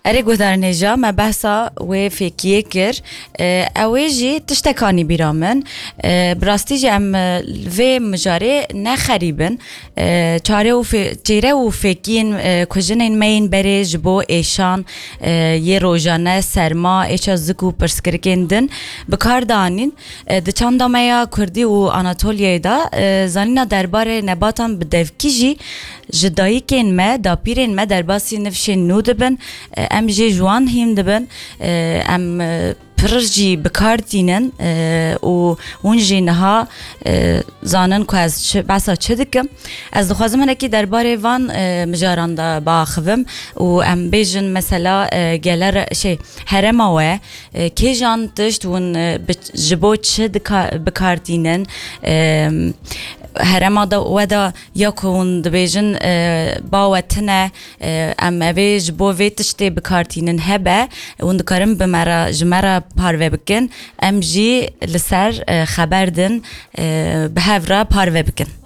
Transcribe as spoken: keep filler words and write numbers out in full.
Erê guhdarên hêja, me behsa wê fêkiyê kir. E, ew ê jî tiştekanî bîra min. E, bi rastî jî em, e, vê mijarê ne xerîb in. E, çare û fê-, çêre û fêkiyên, e, ku jinên me yên berê ji bo êşan, e, yê rojane, serma, êça zik û pirsgirikên din bi kar danîn. E, di çanda me ya Kurdî û Anatoliyayê de, e, zanîna derbarê nebatan bi devkî jî ji dayikên me, dapîrên me derbasî nifşên nû dibin. E, em jê ji wan hîn dibin. E, em, e, pir jî bi kar tînin, e, û hûn jî niha, e, zanin ku ez çi, behsa çi dikim. Ez dixwazim hinekî derbarê van, e, mijaran de biaxivim û em bêjin mesela, e, gele re-, şey, herêma we, e, kêjan tişt hûn, e, bi, ji bo çi dika-, bi kar tînin? E, herêma de we de ya ku hûn dibêjin, e, ba we tune, e, em evê ji bo vê tiştê bi kar tînin hebe, hûn dikarin bi me re, ji me re parve bikin, em jî li ser, e, xeber din, e, bi hev re parve bikin.